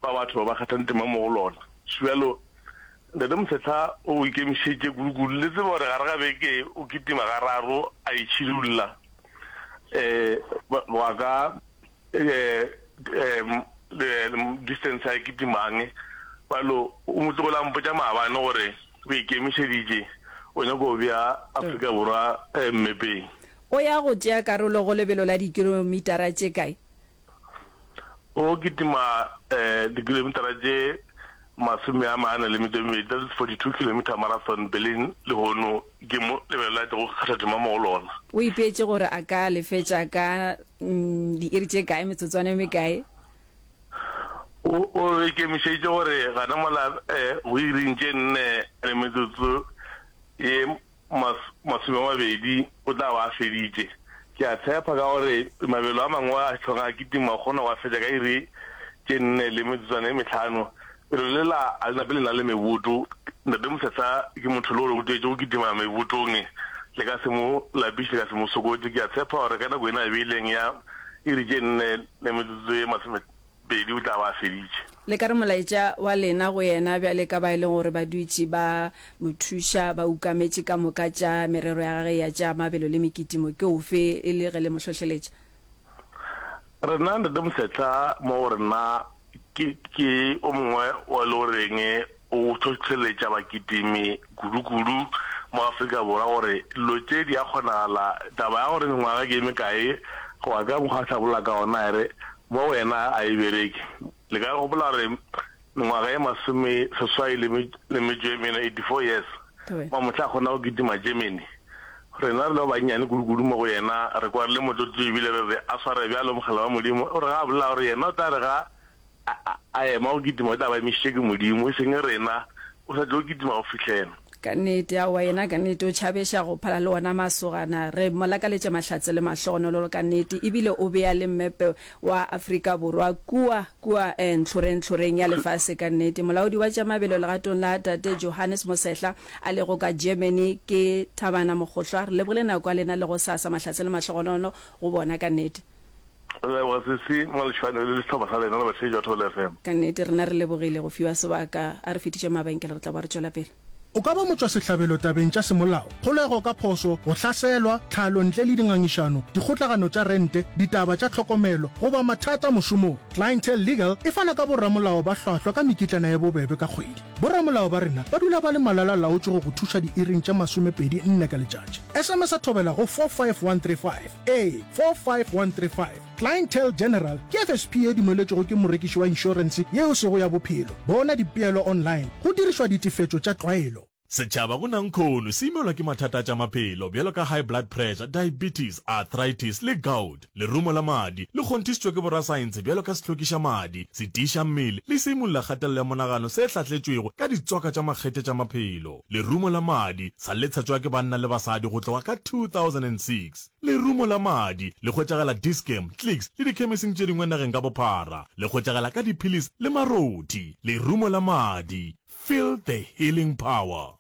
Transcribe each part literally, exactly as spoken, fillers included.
ba batho ba ba kgathang tema mo go lona. Bjalo Ntate Mosehla o ikemišeditše kudu-kudu. Le tseba gore gare ga beke o kitima gararo a itšhidulla um wa ka um distance a e kitimang. Bjalo o mo tlogile a mpotša maabane gore o ikemišeditše, o nyaka go bea Afrika Borwa mmepeng. O ya go tšea karolo go lebelo la dikilomitara tše kae? O kitima dikilomitara tše masome a mane le metšo e mebedi, that is forty two kilometre marathon, Berlin lehono ke mo lebelo la tlogo kgatha tema mo go lona. O ipeetše gore a ka le fetša ka diiri tše kae, metsotswana e mekae? O o ikemišeditše gore gana mola go iring tše nne le metsotso ye mas, masome a mabedi o tla ba a feditše. Ke a tshepa ka gore mabelo a mangwe a hlong a kitima o kgona go a fetša ka iri tše nne le metsotswana e mehlano. Lebelo lela a le nape le na le meboto. Ntate Mosehla ke motho le gore o tlwaetše go kitima mebotong, le ka se mo lapiše, le ka se mo sokotše. Ke a tshepa gore ka nako ena a beileng ya iri tše nne le metsotso ye masomepedi o tla ba a feditše. Le ka re molaetša wa lena go yena bjale ka ba e leng gore ba dutše ba mo thuša, ba ukametše ka moka tša merero ya gage ya tša mabelo le mekitimo ke ofe e le ge le mo hlohleletša? Rena Ntate Mosehla mo go rena ke ke o mongwe wa e le goreng o hlohleletša bakitimi kudu-kudu mo Afrika Borwa gore dilo tše di a kgonagala. Taba ya gore mengwaga ke e mekae go ya ka mokgwa a hlabolla ka gona e re mo go yena a e bereke. Le ka gopola gore mengwaga e masome seswai le metšo e mene, eighty four years, mamohla a kgona go kitima Germany. Rena re le ba bannyane kudu-kudu mo go yena, re kwa re le motlotlo ebile re re a sware bjalo mogala wa Modimo. O re ga a bolela gore yena o tla re ga a, a ema go kitima o tla ba emišitše ke Modimo, e seng rena, o sa tlo kitima go fihlela. Ka nnete, aowa, yena ka nnete o tšhabeša go phala le ona masogana. Re mo lakaletša mahlatse le mahlogonolo ka nnete, ebile o bea le mmepe wa Afrika Borwa kua, kua eh, ntlhoreng-ntlhoreng ya lefase ka nnete. Molaodi wa tša mabelo legatong la Tate Johannes Mosehla a lego ka Germany ke Thabana Mogohlwa. Re lebogile nako ya lena le gosasa, mahlatse le mahlogonolo go bona ka nnete. Re leboga sesi Maleshwane le sehlopha sa lena le batheetši ba Thobela F M. Ka nnete rena re lebogile go fiwa sebaka. A re fetiše mabenkele re tla boa re tšwela pele. O ka ba motšwasehlabelo tabeng tša semolao, kgolego ka phošo, go hlaselwa, tlhalo ntle le dingangišano, dikgotlagano tša rente, ditaba tša tlhokomelo, goba mathata mošomong. Clientele Legal e fana ka boramolao ba hlwahlwa ka mekitlana ye bobebe ka kgwedi. Boramolao ba rena ba dula ba le malala-laotšwe go go thuša diiring tše masomepedi nne ka letšatši. S M S thobela go four five one three five. Ee, four five one three five. Clientele General ke F S P ye dumeletšwego ke morekiši wa inšorense yeo sego ya bophelo. Bona dipeelo online go dirišwa ditefetšo tša tlwaelo. Setšhaba go nankhono se imelwa ke mathata a tša maphelo bjalo ka high blood pressure, diabetes, arthritis le gout. Lerumo la madi le kgonthišitšwe ke borasaense bjalo ka sehlokiša madi, setiiša mmele le seimolla kgatelelo ya monagano se hlahletšwego ka ditswaka tša makgethe tša maphelo. Lerumo la madi sa le tshatšwa ke banna le basadi go tloga ka two thousand and six Lerumo la madi le hwetšagala Dis-Chem, Clicks le dikhemising tše dingwe nageng ka bophara. Le hwetšagala ka diphilisi le marothi. Lerumo la madi, feel the healing power.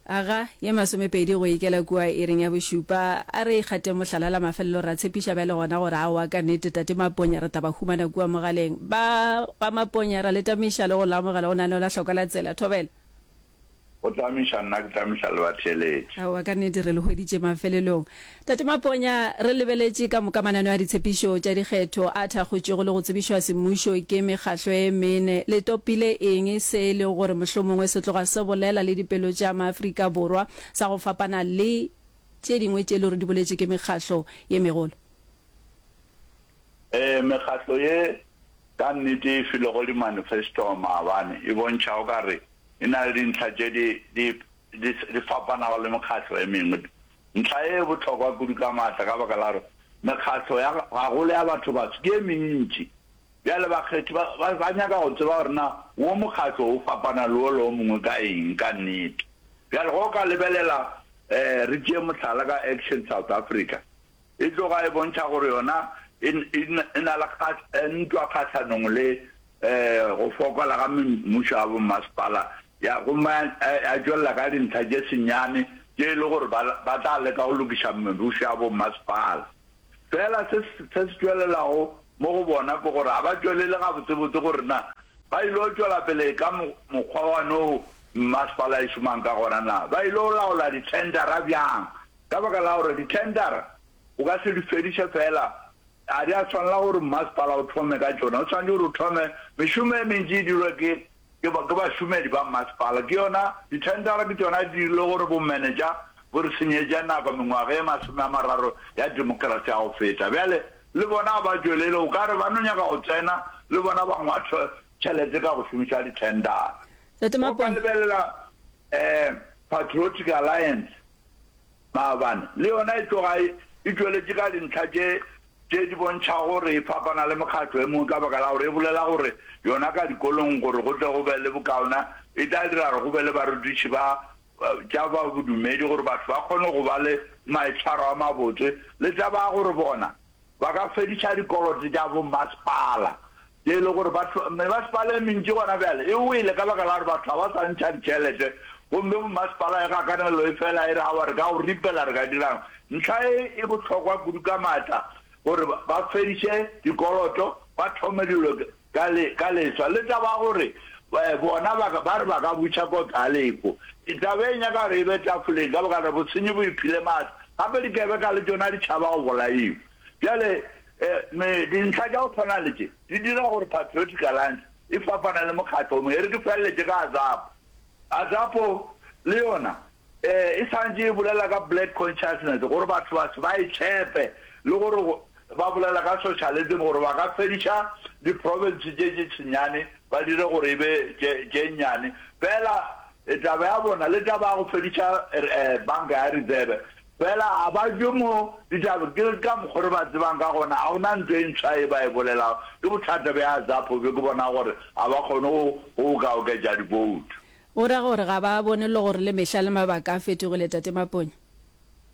Aga, ye masomepedi go ikela kua iring ya bošupa. A re ikgateng mohlala la mafelelo, ra tshepiša bjale gona gore aowa ka nnete Tate Maponya re tla ba humana kua mogaleng. Ba ga Maponya ra le tamiša le go le amogela go lenaneo la Hloka la Tsela. Thobela. O tlamiša nna, ke tlamiša le batheeletši. Aowa, ka nnete re le hweditše mafelelong. Tate Maponya, re lebeletše ka moka mananeo a ditshepišo tša dikgetho a thakgotšwego le go tsebišwa semmušo ke mekgahlo e mene. Le topile eng se e lego gore mohlomongwe se tloga se bolela le dipelo tša maAfrika Borwa sa go fapana le tše dingwe tše e le gore di boletše ke mekgahlo ye megolo? Ee, mekgahlo ye ka nnete e filego di-manifesto maabane e bontšha o ka re e na le dintlha tše di, di, di, di fapanago le mekgatlo e mengwe. Ntlha ye e bohlokwa kudu ka matla ka baka la gore mekgatlo ya, gagolo ya batho-batsho ke e mentši. Bjale bakgethi ba, ba, ba nyaka go tseba gore na wo mokgatlo o fapana le wola o mongwe ka eng ka nnete. Bjale ge o ka lebelela, eh, re tšee mohlala ka Action South Africa, e tloga e bontšha gore yona e, e, e na le kga, ntwa kgahlanong le go fokola ga mmušo wa bommasepala ya gomme ya tšwelela ka dintlha tše senyane tše e le gore ba, ba tla leka go lokiša mebušo ya bommasepala. Fela se, se se tšwelelago mo go bona ke gore ga ba tšwelele gabotsebotse gore na Ba ilo tšwela pele ka mokgwa wa no mmasepala e šomang ka gona na? Ba ilo laola dithendara bjang? Ka baka la gore dithendara o ka se di fediše feela, ga di a swanela gore mmasepala o thome ka tšona. O swanetše gore o thome mešomo e mentši e dirwe ke ke ke bašomedi ba mmasepala. Ke yona dithendara ke tšona di dirile gore bomenetša bo re senyetše nako mengwaga e masome a mararo ya demokrasi ya go feta. Bjale le bona ga ba tšwelele, o ka re ba no nyaka go tsena le bona ba ngwathe tšhelete ka go šomiša dithendara. Tate O ka Mapone. lebelela um Patriotic Alliance maabane, le yona e tloga e e tšweletše ka dintlha tše tše di bontšhago gore e fapana le mekgatlo e mengwe ka baka la gore e bolela gore yona ka dikolong gore go tle go be le bokaone e tla dira gore go be le barutiši ba tša ba bodumedi gore batho ba kgone go ba le maitshwaro a mabotse le taba ya gore bona ba ka fediša dikoloto tša bommasepala tše e le gore batho mebasepala e mentši gona bjale e wele ka baka la gore batho ga ba sa ntšha ditšhelete gomme bommasepala e gakanelo e fela e re aowa re ka go ripela re ka dirang. Ntlha e e bohlokwa kudu ka maatla gore ba fediše dikoloto ba thome dilo ka le ka leswa le taba ya gore bona ba ba re ba ka buša kotlo ya lehu. Taba e nyaka gore e be tafoleng ka baka la gore bosenyi bo iphile maatla gape dikebeka le tšona di tšhaba go bolaiwa. Bjale me dintlha tša go tshwana le tše di dira gore Patriotic Alliance e fapane le mokgatlo o mongwe. E re ke feleletše ka AZAPO. AZAPO le yona e sa ntše e bolela ka black consciousness gore batho baso ba e tshepe le gore ba bolela ka socialism gore ba ka fediša di-province tše tše senyane ba dire gore e be tše tše nnyane. Fela taba ya bona le taba ya go fediša banka ya reserve fela ga ba tšwe mo ditaba ke ka mokgo re ba tsebang ka gona ga gona ntho e ntshwa e ba e bolelago. Ke bothata bja AZAPO bjo ke bona gore ga ba kgone go go ka oketša di-vote. Go ra gore ga ba bone le gore le mehla le mabaka a fetogile, Tate Maponya.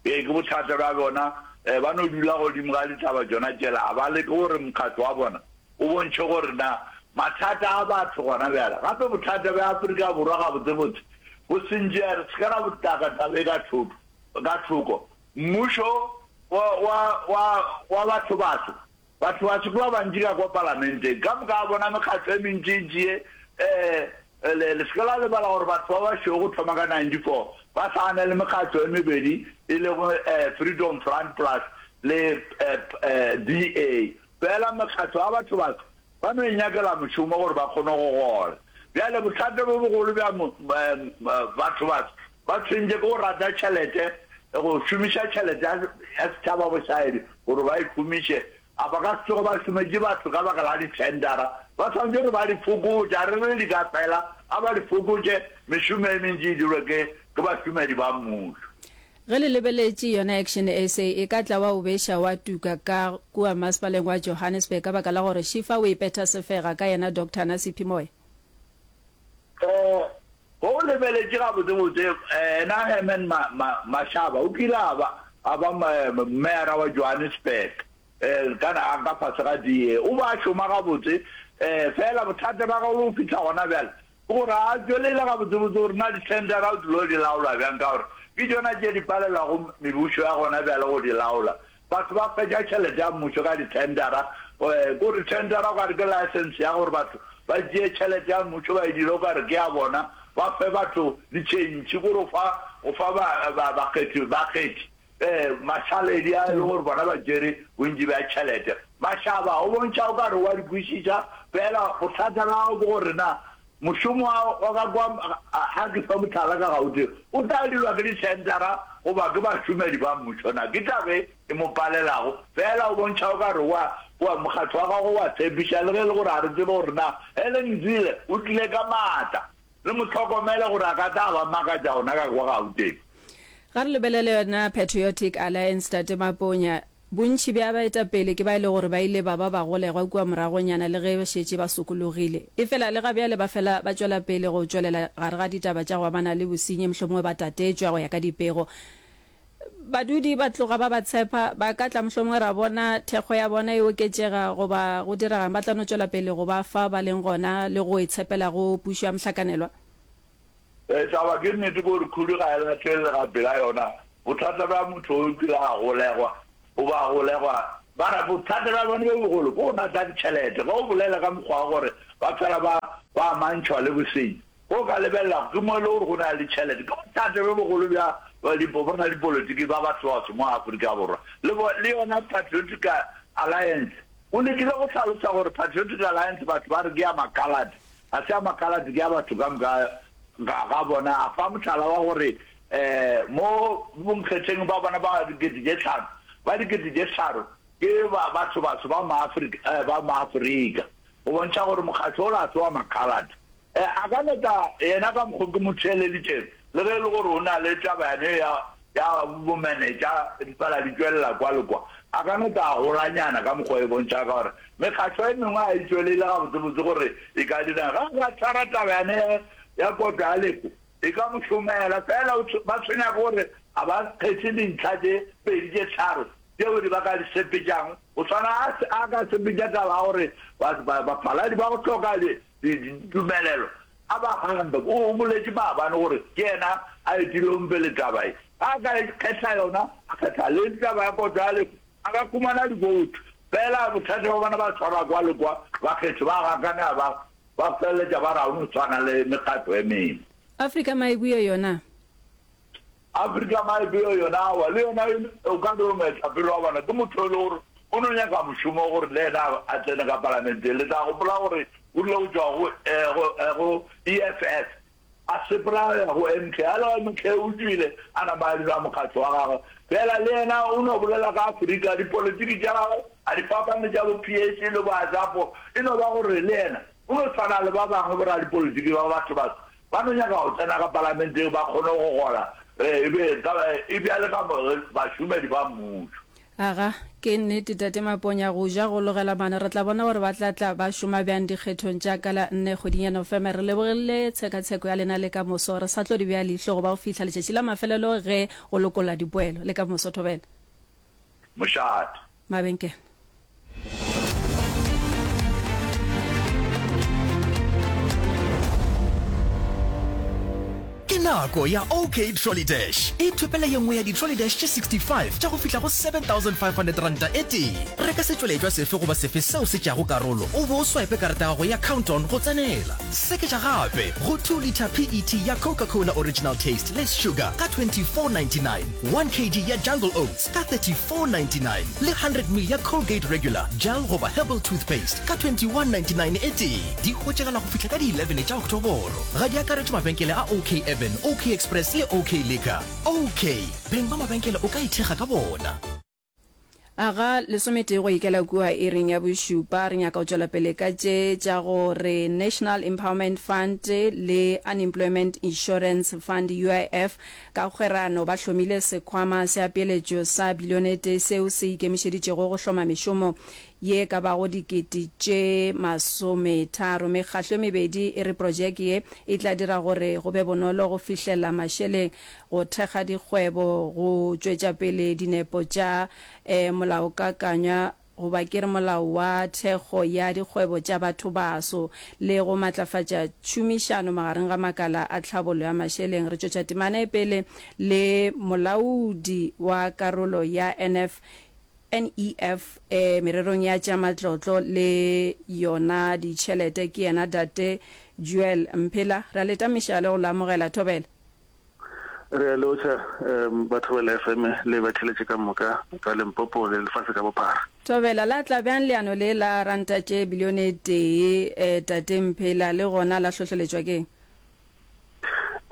Ee, ke bothata bja bona. Ba no dula godimo ga ditaba tšona tšela. Ga ba leke gore mokgatlo wa bona o bontšhe gore na mathata a batho gona bjale. Gape bothata bja Afrika Borwa gabotsebotse bo sentše, re se ke ra bo taka taba e ka thoko, ka thoko. Mmušo wa, wa, wa, wa bathobaso, bathobaso ke ba bantši ka kwa palamenteng. Ka moka ga bona mekgatlo e mentšintši ye, um le, le se ke la lebala gore batho ba bašweu go thoma ka ninety four ba hlagane le mekgatlo e mebedi e lego um Freedom Front Plus le um D A. Fela mekgatlo ya bathobaso ba no inyakela mošomo gore ba kgone go gola. Bjale bothata bjo bogolo bja bathobaso ba tshwentše ke go rata tšhelete, go šomiša tšhelete ya setšhaba bošaedi gore ba ikhumiše. A ba ka se tsoge ba šometše batho ka baka la dithendara. Ba swanetše gore ba di fokotše, a re re di ka fela, a ba di fokotše, mešomo e mentši e dirwe ke ke bašomedi ba mmušo. Ge le lebeletše yona Action S A e ka tla wa o beša wa tuka ka kua masepaleng wa Johannesburg ka baka la gore Shifa o ipetha sefega ka yena Doctor Nasiphi Moya. Ge o lebeletše gabotsebotse, yena Herman Mashaba o kile a ba a ba meyara wa Johannesburg ka ka fase ga D A. O be a šoma gabotse, fela bothata bja gagwe go fihla gona bjale ke gore ga a tšwelele gabotsebotse gore na dithendara o tlilo di laola bjang ka gore ke tšona tše di palelwago mebušo ya gona bjale go di laola. Batho ba fetša tšhelete ya mmušo ka dithendara, ke gore thendara o ka re ke license ya gore batho ba tšee tšhelete ya mmušo ba e dire o ka re ke ya bona, ba fe batho ditšhentšhi, ke gore o fa o fa ba ba bakgethi bakgethi mašaledi a e le gore bona ba tšere bontši bja tšhelete. Mašaba o bontšha o ka re wa di kwešiša, fela bothata bja gago ke gore na mošomo wa wa ka kwa a ke fe mohlala ka Gauteng o tla dirwa ke dithendara goba ke bašomedi ba mmušo na? Ke taba e e mo palelago. Fela o bontšha o ka re wa wa mokgatlo wa gagwe wa tshepiša le ge e le gore ga re tsebe gore na Helen Zille o tlile ka maatla. Le mo hlokomele gore a ka tla a ba makatša gona ka kwa Gauteng. Ga re lebelele yona Patriotic Alliance, Tate Maponya, bontši bja baetapele ke ba e le gore ba ile ba ba bagolegwa kua moragonyana le ge ba šetše ba sokologile. Efela le ga bjale ba fela ba tšwela pele go tšwelela gare ga ditaba tša go amana le bosenyi mohlomongwe ba tatetšwa go ya ka dipego. Badudi ba tloga ba ba tshepa, ba ka tla mohlomongwe ra bona thekgo ya bona e oketšega goba go direga'ng, ba tla no tšwela pele go ba fa ba leng gona le go e tshepela go pušo ya mohlakanelwa. Taba ke nnete ke gore khudu ga e lahlele legapi la yona. Bothata bja motho o kile a golegwa o ba golegwa ba re bothata bja bone bjo bogolo ke go rata ditšhelete. Ge o bolela ka mokgwa wa gore ba fela ba ba amantšhwa le bosenyi. Ge o ka lebelela, ke mo e le gore go na le ditšhelete. Ke bothata bjo bogolo bja boradipolotiki ba bathobaso mo Afrika Borwa. Le, le yona Patriotic Alliance. O lekile go hlalosa gore Patriotic Alliance batho ba re ke ya makhalate. Ga se ya makhalate, ke ya batho ka moka ga, ga bona. A fa mohlala wa gore um mo bonkgetheng ba bona ba dikete tše tlhano, ba dikete tše tharo ke ba, bathobaso ba Maafrika, eh, ba Maafrika. Go bontšha gore mokgatlo ola ga se wa makhalate. E, a ka no tla yena ka mokgo ke mo theeleditšego, le ge e le gore o na le taba yane ya, ya bomenetša di fela di tšwelela kwa le kwa. A ka no tla a golanyana ka mokgwa e bontšha ka gore mekgatlo e mengwe ga e tšwelele gabotsebotse gore e ka dirang. Ge a ka tshwara taba yane ya, ya kotlo ya lehu, e ka mo šomela. Fela o, ba tshwenya ke gore ga ba kgethe dintlha tše pedi tše tharo tšeo di ba ka di sepetšang. Go swana a, a ka sepetša taba ya gore ba, ba, bafaladi ba go hloka di, Ditumelelo a ba gambe. O boletše maabane gore ke yena a etilego pele taba ye. Ge a ka kgetha yona, a kgetha le taba ya kotlo ya lehu, a ka humana diboutu. Fela bothata bja bona ba tshwarwa kwa le kwa, bakgethi ba gakanega ba ba feleletša ba re ga o no tshwana le mekgatlo e mengwe. Afrika Maebue yona. Afrika Maebeo yona aowa, le yona o ka re o moetapele wa bona, ke motho e le gore o no nyaka mošomo gore le yena a tsene ka palamenteng. Le tla gopola gore o rile go tšwa go, go, go E F F a sepela a ya go M K, a le go M K o tšwile a nama a dira mokgatlo wa gagwe. Fela le yena o no bolela ka Afrika, dipolitiki tša gagwe a di fapane le tša bo P A C le bo AZAPO, e no ba gore le yena o no tshwana le ba bangwe boradipolitiki ba batho-batho. Ba no nyaka go tsena ka palamenteng ba kgone go gola e be e bjale ka bašomedi ba mmušo. Aga, ke nnete Tate Maponya, go ja go logela maano. Re tla bona gore ba tla tla ba šoma bjang dikgethong tša ka la nne kgweding ya Nofemere. Re lebogile tshekatsheko ya lena le ka moso. Re sa tlo di bea leihlo go ba go fihla letšatši la mafelelo ge go lokolla dipoelo. Le ka moso, Thobela. Mošate. Mabenkele. Ke nako ya OK Trolley Dash. Ithopele ye nngwe ya di-trolley dash tše sixty five tša go fihla go seven thousand five hundred ranta e tee. Reka setšweletšwa sefe goba sefe seo se tšeago karolo o be o swipe karata ya gago ya Count-On go tsenela. Seketša gape go two litre P E T ya Coca-Cola Original Taste Less Sugar ka twenty four ninety nine, one kg ya Jungle Oats ka thirty four ninety nine le hundred ml ya Colgate Regular, Gel goba Herbal Toothpaste ka twenty one ninety nine e tee. Di hwetšagala go fihla ka di eleven tša Oktoboro. Ga di akaretšwe mabenkele a OK Urban, OK Express le OK Liquor. OK, beng ba mabenkele o ka ithekga ka bona. Aga lesometee go ikela kua iring ya bošupa, re nyaka go tšwela pele ka tše tša go re National Empowerment Fund le Unemployment Insurance Fund, U I F, ka kgwerano ba hlomile sekhwama sa peeletšo sa bilione e tee seo se ikemišeditšego go hloma mešomo ye ka bago dikete tše masometharo. Mekgahlo e mebedi e re projeke ye e tla dira gore go be bonolo go fihlela mašeleng, go thekga dikgwebo, go tšwetša pele dinepo tša molaokakanywa goba ke re molao wa thekgo ya dikgwebo tša bathobaso le go matlafatša tšhomišano magareng ga makala a tlhabollo ya mašeleng. Re tšwetša temana e pele le molaodi wa karolo ya N F N E F e mererong ya tša matlotlo le yona ditšhelete ke yena Tate Joel Mphela. Re a le tamiša le go le amogela. Thobela. Re a lotšha ba Thobela F M le batheeletši ka moka ka Limpopo le lefase ka bophara. Thobela, la tla bjang leano le la ranta tše bilione e tee, Tate Mphela, le gona la hlohleletšwa ke'ng?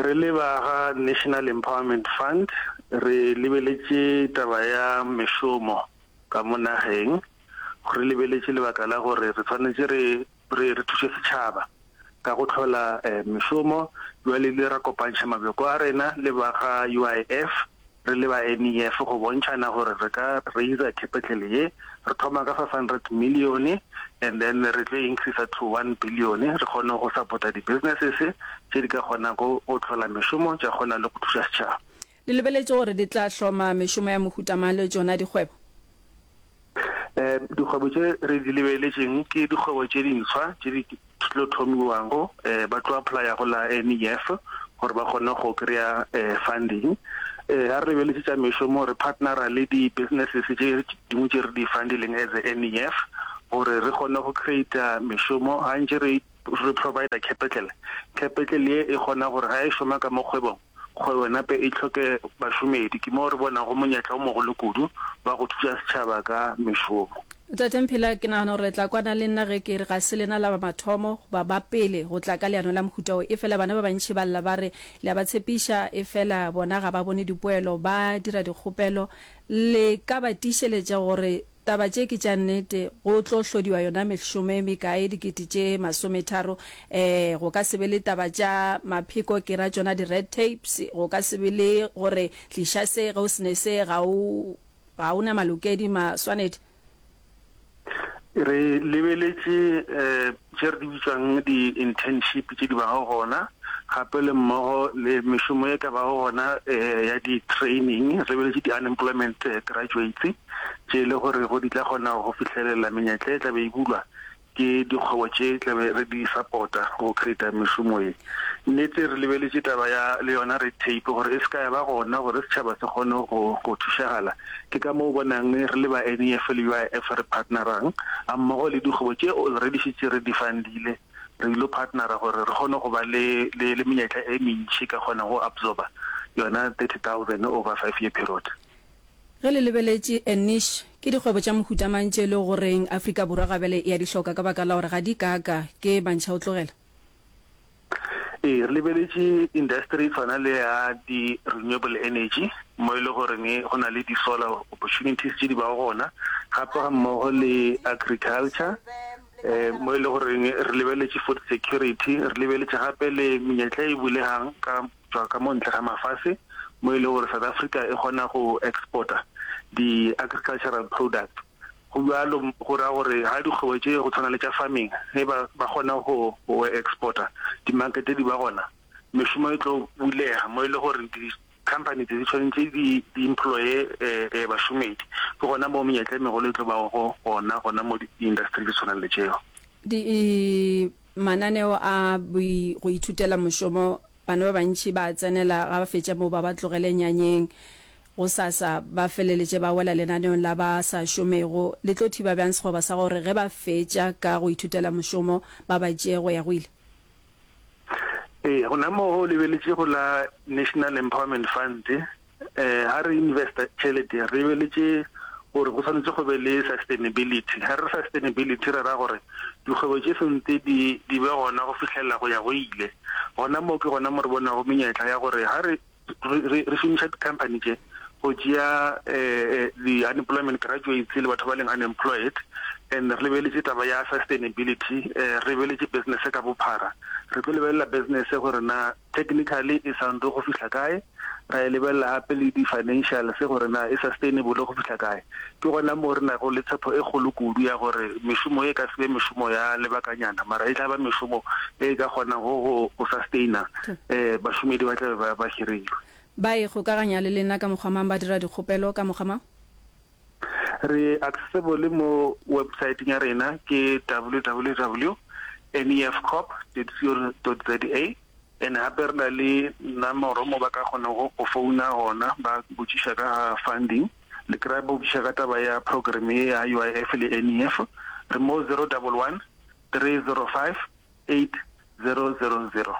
Re le ba ga National Empowerment Fund re lebeletše taba ya mešomo ka mo nageng, re lebeletše lebaka la gore re swanetše re re re thuše setšhaba ka go hlola mešomo. Bjale ile ra kopantšha mabjoko a rena le ba ga U I F re le ba N E F go bontšhana gore re ka raiser capital ye. Re thoma ka five hundred million and then re tlo increaser to one billion re kgone go supporta di-businesses tše di ka kgonago go hlola mešomo tša kgona le go thuša setšhaba. Le lebeletše gore di tla hloma mešomo ya mohuta mang le tšona dikgwebo? Um dikgwebo tše re di lebeletšeng ke dikgwebo tše dintshwa tše di tlo thomiwago, um ba tlo applya go la N E F gore ba kgone go kry-a um funding. Um ga re lebeletše tša mešomo re partnera le di-businesses tše dingwe tše re di fundileng as a N E F gore re kgone go creata mešomo. Ga ntše re re provider capital, capital ye e kgona gore ga e šoma ka mo kgwebong, kgwebo nape e hloke bašomedi. Ke moo re bonago monyetla o mogolo kudu wa go thuša setšhaba ka mešomo. Tate Mphela, ke nagana gore le tla kwana le nna ge ke re ga se lena la ba mathomo goba ba pele go tla ka leano la mohuta wo. Efela bana ba bantši ba lla ba re le a ba tshepiša efela bona ga ba bone dipoelo, ba dira dikgopelo. Le ka ba tiišeletša gore taba tše ke tša nnete, go tlo hlodiwa yona mešomo e mekae, dikete tše masometharo, eh, go ka se be le taba tša mapheko, ke ra tšona di-red tapes, go ka se be le gore tliša se, ge o se ne se ga o, ga o na malokedi, maswanedi. Re lebeletše tše re di bitšang di-internship tše di bago gona, gape le mmogo le mešomo e ka bago gona ya di-training. Re lebeletše di-unemployment graduates tše e le gore go di tla kgona go fihlelela menyetla e tla be e bulwa ke dikgwebo tše tla be re di support-a go create-a mešomo ye. Nnete re lebeletše taba ya le yona red tape gore e se ka ya ba gona gore setšhaba se kgone go go thušagala. Ke ka moo o bonang re le ba N E F le U I F re partnerang gammogo le dikgwebo tše already šetše re di fundile, re ilo partnera gore re kgone go ba le le le menyetla e mentši ka kgona go absorba yona thirty thousand over five year period. Ge le lebeletše a niche, ke dikgwebo tša mohuta mang tše e lego goreng Afrika Borwa ga bjale e a di hloka ka baka la gore ga di kaaka ke mantšha o tlogela? Ee, re lebeletše industry e tshwana le ya di-renewable energy mo e le goreng go na le di-solar opportunities tše di bago gona, gape ga mmogo le agriculture um mo e le goreng re lebeletše food security, re lebeletše gape le menyetla e bulegang ka tšwa ka mo ntle ga mafase mo e le gore South Africa e kgona go exporta di-agricultural products. Go bjalo go ra gore ga dikgwebo tše go tshwana le tša farming ge ba ba kgona go go exporta, di-market di ba gona, mešomo e tlo bulega mo e le gore di-company tse di tshwanetse di di employe bašomedi. Ke gona mo menyetla e megolo e tlo bago gona gona mo di-industry di tshwanang le tšeo. Di mananeo a go ithutela mošomo, bana ba bantši ba a tsenela, ga ba fetša moo ba ba tlogele nyanyeng, gosasa ba feleletše ba wela lenaneong la ba sa šomego. Le tlo thiba bjang sekgoba sa gore ge ba fetša ka go ithutela mošomo ba ba tšee go ya go ile? Ee, gona moo go lebeletše go la National Empowerment Fund, ga re investa tšhelete re lebeletše gore go swanetše go be le sustainability. Ga re re sustainability re ra gore dikgwebo tše sentse di di be gona go fihlelela go ya go ile. Gona moo ke gona mo re bonago menyetla ya gore ga re re re šomiša di-company tše go tšea di-unemployment graduates le batho ba leng unemployed and re lebeletše taba ya sustainability, re lebeletše business ka bophara. Re tlo lebelela business gore na technically e sound go fihla kae, ra e lebelela gape le di-financials gore na e sustainable go fihla kae. Ke gona moo re nago le tshepo e kgolo kudu ya gore mešomo e ka se be mešomo ya lebakanyana, mara e tla ba mešomo e ka kgonago go go sustaina um bašomedi ba tlabe ba ba hirilwe. Ba ikgokaganya le lena ka mokgwa mang, ba dira dikgopelo ka mokgwa mang? Re accessible mo websiteng ya rena ke W W W nefcorp dot co dot za and gape re na le nomoro mo ba ka kgonago go founa gona ba botšiša ka ga funding, le kry-a ba botšiša ka taba ya program ye ya U I F le N E F. Re mo zero double one three zero five eight zero zero zero.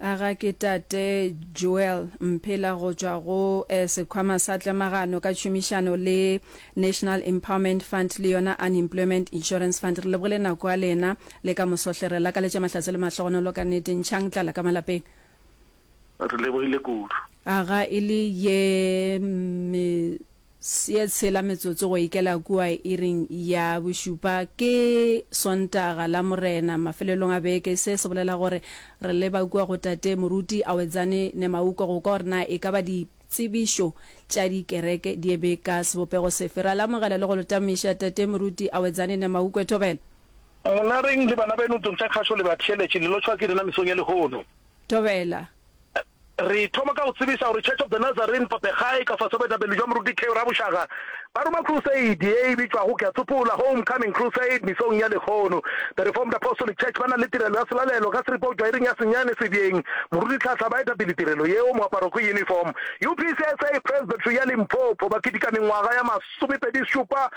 Aga ke tate Joel Mphela go tšwa go Sekhwama sa Tlemagano ka tšhomišano le National Empowerment Fund le yona Unemployment Insurance Fund. Re lebogile nako ya lena le ka moso hle. Re lakaletša mahlatse le mahlogonolo ka nnete. Ntšhang tlala ka malapeng. Re lebogile kudu. Aga e le ye me ye tshela metsotso go ikela kua iring ya bošupa. Ke Sontaga la Morena mafelelong a beke. Se se bolela gore re leba kua go tate Moruti Awedzane Nemauko go kwa gore na e ka ba ditsebišo tša dikereke di eme ka sebopego sefe. Re a le amogela le go le tamiša tate Moruti Awedzane Nemaukwe. Thobela. Monareng le bana beno ntlong tša kgašo le batheeletši le lotšhwa ke rena mesong ya lehono. Thobela. Re thoma ka go tsebiša gore Church of the Nazarene Papegae ka fase ga boetapele bja Moruti K. Rabošaga ba roma crusade ye e bitšwago Ke a Tsopola Homecoming Crusade mesong ya lehono. The Reformed Apostolic Church ba na le tirelo ya selalelo ka seripa go tšwa iring ya senyane Sebjeng. Moruti Tlhahla ba eta pele tirelo yeo, moaparo ke uniform. U P C S A Presbytery ya Limpopo ba keteka mengwaga ya masomepedi šupa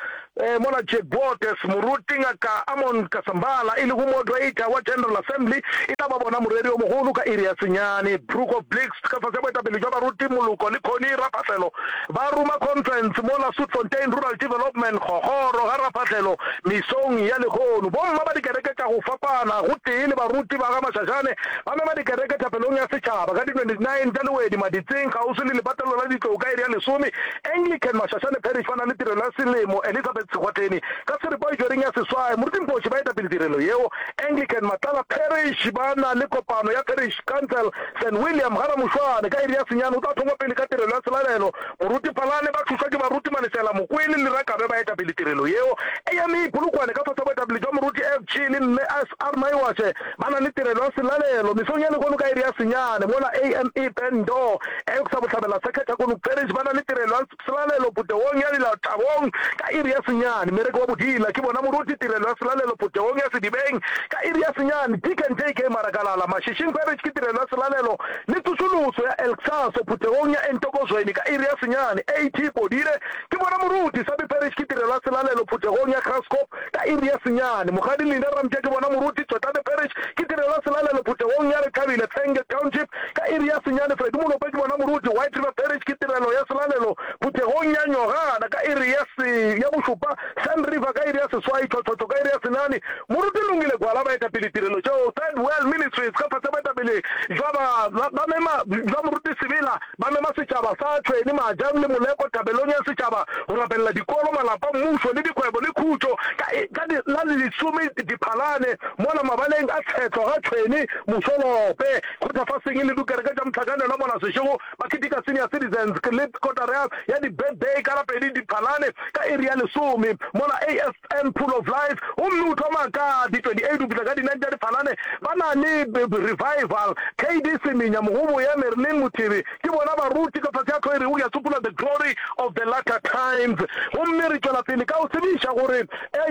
mola Jack Botes, Moruti Ngaka Amon Kasambala e lego moderator wa General Assembly e tla ba bona moreri yo mogolo ka iri ya senyane. Brook of Blix ka fase ga boetapele bja baruti Moloko le Connie Raphahlelo ba roma conference mola Soetfontein Rural Development Kgokgoro ga Raphahlelo mesong ya lehono. Bomma ba dikereke tša go fapana gotee le baruti ba ga Mashashane ba mema dikereke thapelong ya setšhaba ka di twenty nine tša Lewedi Maditseng kgauswi le lepatlelo la ditlou ka iri ya lesome. Anglican Mashashane Parish ba na le tirelo ya selemo Elizabeth Sekgwatheni ka seripa e tšwereng ya seswai. Moruti Mpoši ba eta pele tirelo yeo. Anglican Matlala Parish ba na le kopano ya Parish Council Saint William ga Ramošwane ka iri ya senyane o tla thongwa pele ka tirelo ya selalelo. Moruti Phalane ba thušwa ke baruti Malesela Mokwele le Rakabe ba eta pele tirelo yeo. A M E Polokwane ka fase ga boetapele bja Moruti F G le Mme S R Maiwashe ba na le tirelo ya selalelo mesong ya lehono ka iri ya senyane mola A M E Bendo Elksa Bohlabela Sekhetha Kono Parish ba na le tirelo ya selalelo phuthegong ya Dilathabong ka iri ya senyane. Mmereko wa bodila ke bona moruti tirelo ya selalelo phuthegong ya Sedibeng ka iri ya senyane. Deacon J K Marakalala Mashishing Parish ke tirelo ya selalelo le tsošoloso ya Elksaso phuthegong ya Entokozweni ka iri ya senyane. A T Podire ke bona moruti Sabi Parish ke tirelo ya selalelo phuthegong ya Graskop ka iri ya senyane. Mokgadi Linda Ramtša ke bona moruti Tswetlane Parish ke tirelo ya selalelo phuthegong ya Rethabile Tsenge Township ka iri ya senyane. Freddy Molope ke bona moruti White River Parish ke tirelo ya selalelo phuthegong ya Nyogana ka iri ya se ya bošupa. Sand River ka iri ya seswai, Tšhotšhotšho ka iri ya senane. Moruti Lungile Gwala ba eta pele tirelo tšeo. Third World Ministries ka fase boetapele bja ba ba mema bja moruti Sebela ba mema setšhaba sa Tšhweni Majang le Moleko thabelong ya setšhaba go rapelela dikolo, malapa, mmušo le dikgwebo le khutšo ka ka la lesome Diphalane mola mabaleng a Tshetlo ga Tšhweni Mošolope. Kgothafaseng le dikereke tša mohlakanelwa mola Seshego ba keteka Senior Citizens le kotara ya di-birthday ka la pedi Diphalane ka iri ya lesome mola A S M Pool of Life gomme o thoma ka di twenty eight go fihla ka di nine tša Diphalane ba na le revival. K D Semenya Mogobo ya Marilyn Mothebe ke bona baruti ka fase ya tlho e rego ya tsopola The Glory of the Latter Times. Gomme re tšwela pele ka go tsebiša gore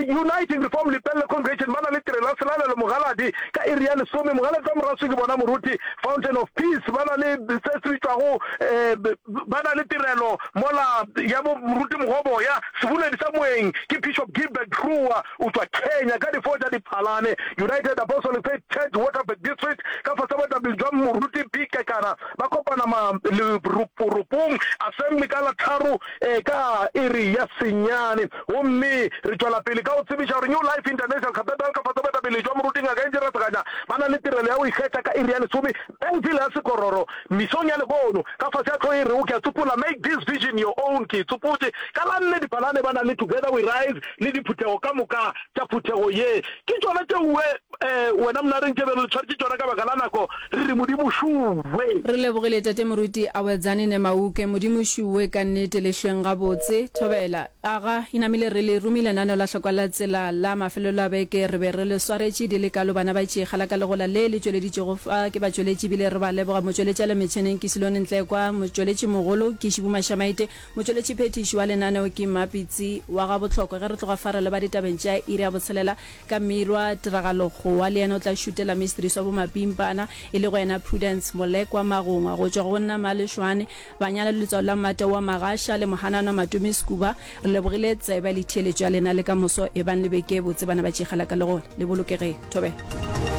Uniting Reform Lepelle Congregation ba na le tirelo ya selalelo Mogaladi ka iri ya lesome. Mogaladi wa Moraswi ke bona moruti. Fountain of Peace ba na le se se bitšwago ba na le tirelo mola ya bo moruti Mogoboya. Seboledi sa moeng ke Bishop Gilbert Rua o tšwa Kenya ka di four tša Diphalane. United Apostolic Faith Church Waterberg District ka fase ga boetapele bja moruti P Kekana ba kopana ma leroporopong assembly ka la tharo ka iri ya senyane. Gomme re tšwela pele ka go tsebiša gore New Life International Cathedral ka fase ga boetapele bja moruti Ngaka Angie Raseganya ba na le tirelo ya go ikgetha ka iri ya lesome Bellville ya Sekororo mesong ya lehono ka fase ga hlogo e rego Ke a Tsopola Make This Vision Your Own Ke e tsopotše ka la nne Diphalane ba na le Together We Rise le diphuthego ka moka tša phuthego ye ke tšona tšeoe wena Mnareng tše be re le tshwaretše tšona ka baka la nako re re Modimo šuwe. Re lebogile Tate Moruti Awedzane Nemauke. Modimo šuwe ka nnete le hlweng gabotse. Thobela. Aga, e namile re le romile lenaneo la Hlokwa la Tsela la mafelelo a beke. Re be re le swaretše di le kalo bana ba tšee la ka legola le le tšweleditšego fa ke batšweletši ebile re ba leboga. Motšweletši a le metšheneng ke Silone Ntlekwa, motšweletši mogolo ke Šibu Mašamaite, motšweletši phethiši wa lenaneo ke Mmapitsi wa ga Bohlokwa. Ge re tloga fa re leba ditabeng tša iri ya botshelela ka Mirwa Tiragalo Kgowa le yena o tla šutela mistress wa bomapimpana e lego yena Prudence Molekwa Magongwa go tšwa go nna Malešwane Banyana le letswalo la Mmate wa Magasha le Mohanana Matome Sekuba. Re lebogile tsebe le theeletšo ya lena le ka moso ebang le beke e botse bana ba tšegela ka legola le bolokegeng. Thobela.